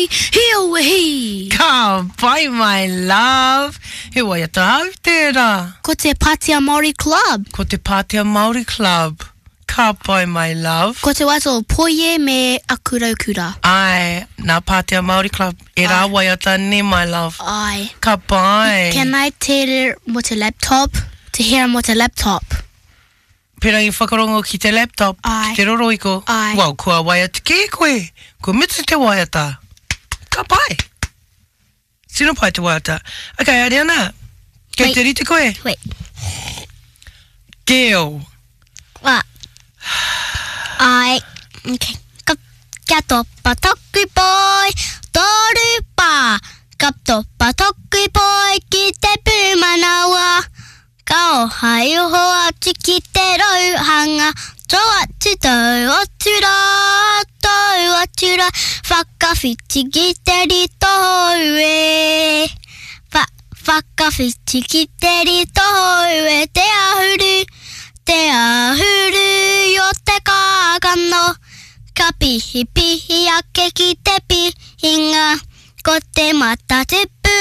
pai, hi aue hi! Ka pai my love! He waiata au tērā. Ko te Pātea Māori Club. Ko te Pātea Māori Club. Ka pai my love. Ko te waiata o Poie me Aku Raukura. Āe, nā Pātea Māori Club ērā waiata nē my love. Āe. Ka pai. Can I tell mo te laptop? To hear mo te laptop. Pērangi whakarongo ki te laptop, Āe. ki te rorohiko. Āe. Well, kua waiata kē koe. Kua mutu te waiata. Ka pai. Tino pai te waiata. Ok, Ariana, kei Wait. te rite koe? Wait. Geo. What? Ai. Okay. Ka, kia topa taku poi, toru pā. Ka topa taku poi ki te pūmanawa. Ka oha i oho atu ki te rauhanga, Tō atu, tau atu rā, tau atu rā, Whakawhiti ki te rito hou e. Wha, whakawhiti ki te rito hou e Te ahuru, te ahuru i o te kākano, Ka pihipihi ake ki te pihinga, Ko te mata tupu.